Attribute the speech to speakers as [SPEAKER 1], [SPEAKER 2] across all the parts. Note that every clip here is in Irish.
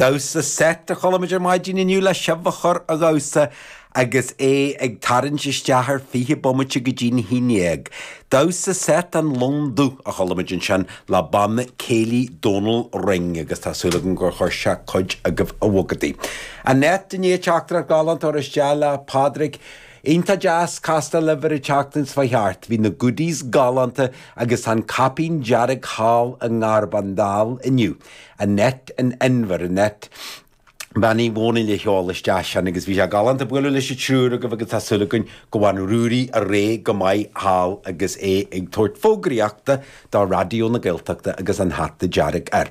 [SPEAKER 1] Damhsa seit a chuala muid ar maidin inniu le sibh a chur a dhamhsa agus é ag tarraingt isteach ar 20 bomaite go dtí'n haon dhéag. Damhsa seit an Lon Dubh a chuala muid ansin le Banna Céilí Dónal Ring agus tá súil agam gur chuir sé cuid agaibh a bhogadaí. Annette i ndiaidh teachtaireacht ghalánta a chur isteach le Pádraig. Iontach deas castáil libh ar an tseachtain seo chuaigh thart. Bhí na goodies galánta agus tá an caipín dearg thall i nGarbhán Dall inniu. Annette in Inbhir, Annette Bean Uí Dhónaill a sheol isteach sin agus bhí sé galánta bualadh leis an triúr agaibh agus tá súil againn go bhfaigheann Ruairí ar aghaidh go maith thall agus é ag tabhairt fógraíochta do Raidió na Gaeltachta agus an hata dearg air.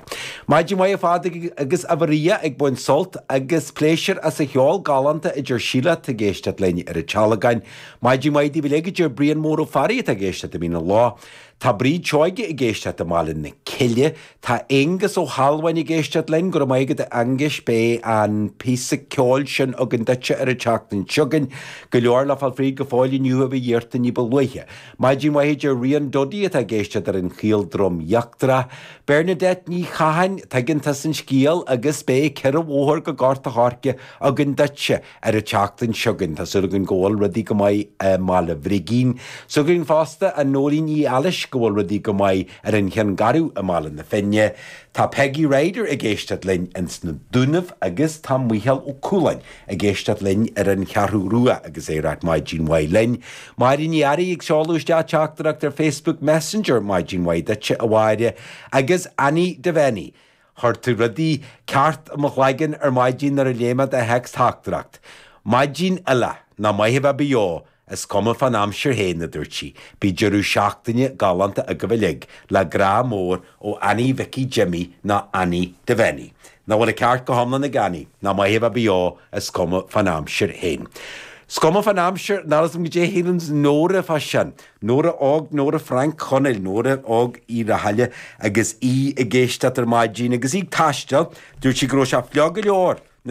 [SPEAKER 1] Maidin mhaith a Phádraig agus a Mharia ag baint sult agus pléisiúr as an cheol galánta a deir Síle atá ag éisteacht linn ar an Tealgán. Maidin mhaith daoibh uilig a deir Brian Mór Ó Fearraigh atá ag éisteacht i Mín an Lá. Tá Bríd Seoige ag éisteacht i mBaile na Cille. Tá Aonghus Ó hAlmhain ag éisteacht linn. Go raibh maith agat a Aonghuis, beidh an píosa ceoil sin againn duitse ar an tseachtain seo chugainn. Go leor le fáil fríd go fóill inniu a bhí iarrta ní ba luaithe. Maidin mhaith a deir Ríon Duddy atá ag éisteacht ar an Chaol Droim Íochtarach. Bernadette Ní Chatháin, tuigeann tusa an scéal agus beidh 4 bhóthar go Gort a' Choirce againn duitse. Ar an tseachtain seo chugainn, tá súil againn go bhfuil rudaí go maith i mBaile Bhrigín. Súil againn fosta, a Nóirín Uí Ailís, go bhfuil rudaí go maith ar an Chionn Garbh i mBaile na Finne. Tá Peggy Ryder ag éisteacht linn ins na Dúnaibh agus tá Mícheál Ó Cualáin ag éisteacht linn ar an Cheathrú Rua agus é ag ráit maidin mhaith linn. Máire Ní Fhearraigh ag seoladh isteach teachtaireacht ar Facebook Messenger, maidin mhaith duitse a Mháire, agus Annie Devaney. Chuir tú rudaí ceart i mo chloigeann ar maidin nuair a léigh mé do théacs-theachtaireacht. Maidin eile, nach maith a bheith beo, is cuma fán aimsir féin, a dúirt sí. Bíodh deireadh seachtaine galánta agaibh uilig, le grá mór ó Annie Mhicí Jimmy nó Annie Devaney. Nach bhfuil an ceart go hiomlán ag Annie, nach maith a bheith beo, is cuma fán aimsir féin. Is cuma fán aimsir, níl 'fhios a'm goidé a shíleanns Nóra fá sin. Nóra Óg, Nóra Frainc Chonaill, Nóra Óg Uí Rathaille agus í ag éisteacht ar maidin agus í ag taisteal, dúirt sí go raibh sé fliuch go leor.